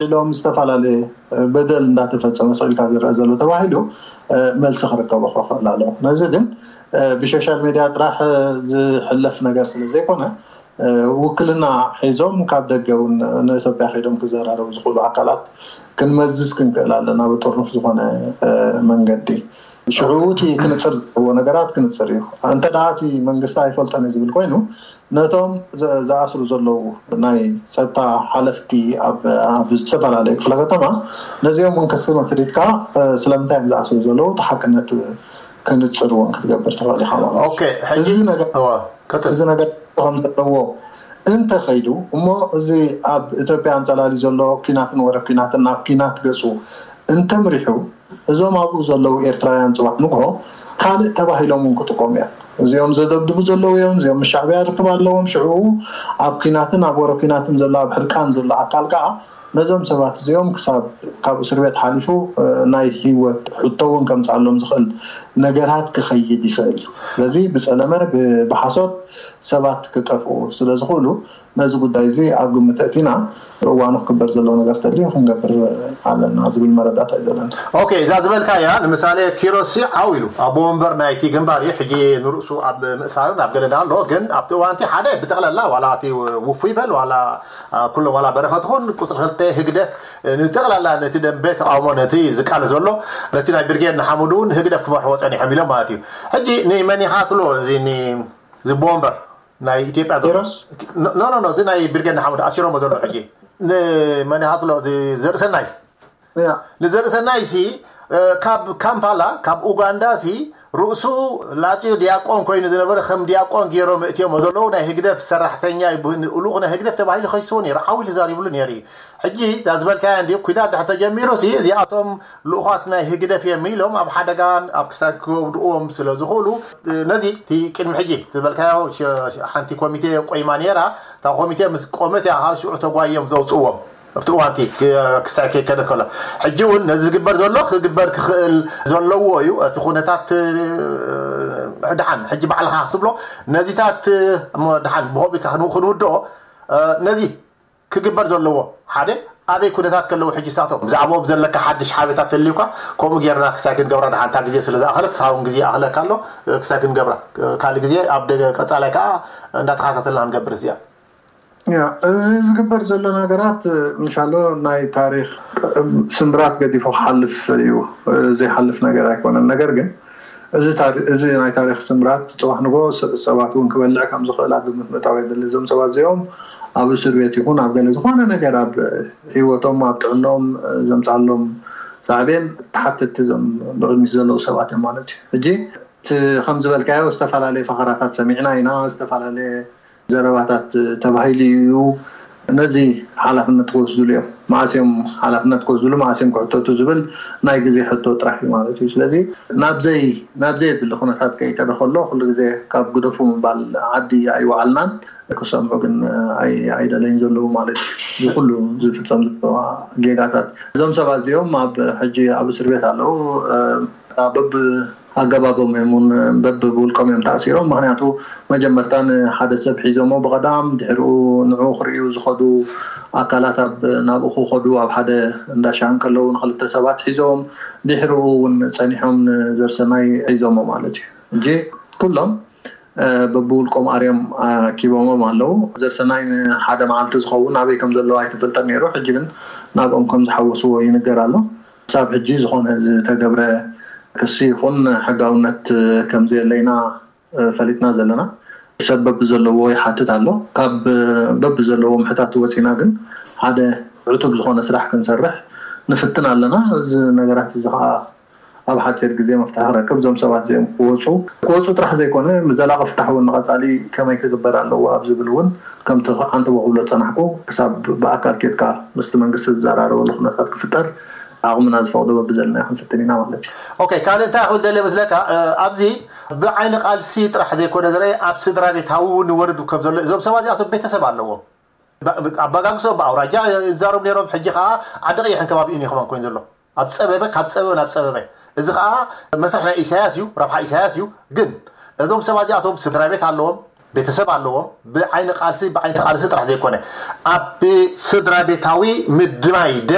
ኢሎም ዝተፈላለየ በደል እንዳተፈጸመ ስቕ ኢልካ ዝረአ ዘሎ ተባሂሉ መልሲ ክርከቦ ክኽእል ኣለዎ። ነዚ ግን ብሶሻል ሚድያ ጥራሕ ዝሕለፍ ነገር ስለ ዘይኮነ፣ ውክልና ሒዞም ካብ ደገ እውን ንኢትዮጵያ ከይዶም ክዘራረቡ ዝኽእሉ ኣካላት ክንመዝዝ ክንክእል ኣለና፣ ብጥርኑፍ ዝኾነ መንገዲ። ሽዑ እቲ ክንፅር ዘለዎ ነገራት ክንፅር እዩ። እንተ ደኣ እቲ መንግስቲ ኣይፈልጦን እዩ ዝብል ኮይኑ፣ ነቶም ዝኣስሩ ዘለዉ ናይ ፀጥታ ሓለፍቲ ኣብ ዝተፈላለዩ ክፍለ ከተማ፣ ነዚኦም እውን ክሲ መስሪትካ ስለምንታይ እዮም ዝኣስሩ ዘለዉ፣ እቲ ሓቅነት ክንፅር እውን ክትገብር ትኽእል ኢኻ ማለት እዩ። እዚ ነገር እዚ ነገር ከም ዘለዎ እንተኸይዱ እሞ፣ እዚ ኣብ ኢትዮጵያ ኣንፀላሊ ዘሎ ኲናትን ወረ ኲናትን ናብ ኲናት ገፁ እንተምሪሑ፣ እዞም ኣብኡ ዘለዉ ኤርትራውያን ፅባሕ ንግሆ ካልእ ተባሂሎም እውን ክጥቆሙ እዮም። እዚኦም ዘደብድቡ ዘለዉ እዮም፣ እዚኦም ምስ ሻዕብያ ርክብ ኣለዎም። ሽዑ ኣብ ኲናትን ኣብ ወረ ኲናትን ዘሎ፣ ኣብ ሕርቃን ዘሎ ኣካል ከዓ ነዞም ሰባት እዚኦም ክሳብ ካብ እስር ቤት ሓሊፉ ናይ ህይወት ሕቶ እውን ከምፅኣሎም ዝኽእል ነገራት ክኸይድ ይኽእል እዩ። ስለዚ ብፀለመ ብሓሶት ሰባት ክጠፍኡ ስለ ዝኽእሉ፣ ነዚ ጉዳይ እዚ ኣብ ግምት ኣእቲና እዋኑ ክግበር ዘለዎ ነገር ተልዩ ክንገብር ኣለና ዝብል መረዳእታ እዩ ዘለና። ኦኬ፣ እዛ ዝበልካያ ንምሳሌ ኪሮስ ዓው ኢሉ ኣቦ ወንበር ናይቲ ግንባር እዩ። ሕጂ ንርእሱ ኣብ ምእሳርን ኣብ ገለና ኣሎ። ግን ኣብቲ እዋንቲ ሓደ ብጠቕላላ ዋላ እቲ ውፉይ በል ዋላ ኩሎም ዋላ በረኸት ኹን ቁፅሪ ክልተ ህግደፍ ንጠቕላላ ነቲ ደንበ ተቃውሞ ነቲ ዝቃለ ዘሎ ነቲ ናይ ብርጌድ ንሓመዱ እውን ህግደፍ ክመርሕዎ ፀኒሖም ኢሎም ማለት እዩ። ሕጂ ንመን ኢኻ ትብሎ እዚ ቦምበር ናይ ኢትዮጵያ ኖ ኖ እዚ ናይ ብርጌድ ንሓመዱ ኣሲሮሞ ዘሎ ሕጂ ንመን ኢኻ ትብሎ ዘርእሰናይ ንዘርእሰናይ ሲ ካብ ካምፓላ ካብ ኡጋንዳ ሲ ርእሱ ላፅዮ ዲያቆን ኮይኑ ዝነበረ ከም ዲያቆን ገይሮም እእትዮሞ ዘለዉ ናይ ህግደፍ ሰራሕተኛ ልኡኽ ናይ ህግደፍ ተባሂሉ ከሲስዎ ነይሩ ዓው ኢሉ ተዛሪብሉ ነይሩ እዩ። ሕጂ እዛ ዝበልካያ እንዲ ኩናት ድሕር ተጀሚሩ ሲ እዚኣቶም ልኡኻት ናይ ህግደፍ እዮም ኢሎም ኣብ ሓደጋን ኣብ ክሳድ ክወድቅዎም ስለ ዝኽእሉ ነዚ እቲ ቅድሚ ሕጂ ዝበልካዮ ሓንቲ ኮሚቴ ቆይማ ነይራ። እታ ኮሚቴ ምስ ቆመት እያ ሽዑ ተጓዮም ዘውፅእዎም ኣብቲ እዋንቲ ክስታይ ከይከደት ከሎ ሕጂ እውን ነዚ ዝግበር ዘሎ ክግበር ክኽእል ዘለዎ እዩ። እቲ ኩነታት ድሓን ሕጂ ባዕልኻ ክትብሎ ነዚታት እሞ ድሓን ብኸቢካ ክንውድኦ ነዚ ክግበር ዘለዎ ሓደ ኣበይ ኩነታት ከለዉ ሕጂ ሳቶም ብዛዕባኦም ዘለካ ሓድሽ ሓበሬታ ተልዩካ ከምኡ ጌርና ክስታይ ክንገብራ ድሓን እታ ግዜ ስለ ዝኣኸለት ሳውን ግዜ ኣኽለካ ኣሎ ክስታይ ክንገብራ ካልእ ግዜ ኣብ ደገ ቀጻላይ ከዓ እንዳተኻታተልና ክንገብር እዚኣ እዚ ዝግበር ዘሎ ነገራት ምሻሎ ናይ ታሪክ ስምብራት ገዲፉ ክሓልፍ እዩ። ዘይሓልፍ ነገር ኣይኮነን። ነገር ግን እዚ ናይ ታሪክ ስምብራት ፅባሕ ንጎ ሰባት እውን ክበልዕ ከም ዝኽእል ኣብ ግምት ምእታው የድሊ። እዞም ሰባት እዚኦም ኣብ እስር ቤት ይኹን ኣብ ገለ ዝኾነ ነገር ኣብ ህይወቶም ኣብ ጥዕኖም ዘምፃሎም ሳዕቤን ተሓተትቲ እዞም ብቅድሚት ዘለዉ ሰባት እዮም ማለት እዩ። ሕጂ እቲ ከም ዝበልካዮ ዝተፈላለየ ፈኸራታት ሰሚዕና ኢና። ዝተፈላለየ ዘረባታት ተባሂሉ እዩ። ነዚ ሓላፍነት ክወስድሉ እዮም። መዓስ እዮም ሓላፍነት ክወስድሉ፣ መዓስ እዮም ክሕተቱ ዝብል ናይ ግዜ ሕቶ ጥራሕ እዩ ማለት እዩ። ስለዚ ናብዘይ ናብዘይ የድሊ ኩነታት ከይከደ ከሎ ኩሉ ግዜ ካብ ግደፉ ምባል ዓዲ ኣይወዓልናን። ክሰምዑ ግን ኣይደለይን ዘለዉ ማለት እዩ። እዚ ኩሉ ዝፍፀም ዘለዋ ጌጋታት እዞም ሰባት እዚኦም ኣብ ሕጂ ኣብ እስር ቤት ኣለዉ። በብ ኣገባቦም እዮም እውን በብውልቆም እዮም ተኣሲሮም። ምክንያቱ መጀመርታ ንሓደ ሰብ ሒዞሞ ብቐዳም ድሕሪኡ ንዑ ክርእዩ ዝኸዱ ኣካላት ኣብ ናብኡ ክኸዱ ኣብ ሓደ እንዳሻ እንከለዉ ንክልተ ሰባት ሒዞም ድሕሪኡ እውን ፀኒሖም ንዘርሰናይ ሒዞሞ ማለት እዩ። እንጂ ኩሎም በብውልቆም ኣርዮም ኣኪቦሞም ኣለዉ። ዘርሰናይ ሓደ መዓልቲ ዝኸውን ኣበይ ከም ዘለዉ ኣይተፈልጠን ነይሩ። ሕጂ ግን ናብኦም ከም ዝሓወስዎ ይንገር ኣሎ። ክሳብ ሕጂ ዝኾነ ዝተገብረ ክሲ ይኹን ሕጋውነት ከም ዘየለይና ፈሊጥና ዘለና። ሰብ በብዘለዎ ይሓትት ኣሎ። ካብ በብዘለዎ ምሕታት ወፂና ግን ሓደ ዕቱብ ዝኾነ ስራሕ ክንሰርሕ ንፍትን ኣለና። እዚ ነገራት እዚ ከዓ ኣብ ሓፂር ግዜ መፍትሒ ክረክብ እዞም ሰባት እዚኦም ክወፁ ክወፁ ጥራሕ ዘይኮነ ዘላቂ ፍታሕ እውን ንቐፃሊ ከመይ ክግበር ኣለዎ ኣብ ዝብል እውን ከምቲ ዓንተቦ ክብሎ ዝፀናሕኩ ክሳብ ብኣካል ኬድካ ምስቲ መንግስቲ ዝዘራረበሉ ኩነታት ክፍጠር ዓቕምና ዝፈቕዶ በብዘለናዮ ክንፍትን ኢና ማለት እዩ። ኦኬ ካልእ እንታይ ክብል ደልየ መስለካ ኣብዚ ብዓይኒ ቃልሲ ጥራሕ ዘይኮነ ዝረአ ኣብ ስድራ ቤታዊ እውን ይወርድ ከም ዘሎ እዞም ሰባት እዚኣቶም ቤተሰብ ኣለዎም። ኣባጋግሶም ብኣውራጃ ይዛረቡ ነይሮም ሕጂ ከዓ ዓዲ ቀይሕን ከባቢኡን እዩ ከማን ኮይኑ ዘሎ ኣብ ፀበበ ካብ ፀበበ ናብ ፀበበ እዚ ከዓ መስርሕ ናይ ኢሳያስ እዩ ረብሓ ኢሳያስ እዩ። ግን እዞም ሰባት እዚኣቶም ስድራ ቤት ኣለዎም ቤተሰብ ኣለዎም። ብዓይኒ ቃልሲ ብዓይኒ ቃልሲ ጥራሕ ዘይኮነ ኣብ ስድራ ቤታዊ ምድናይ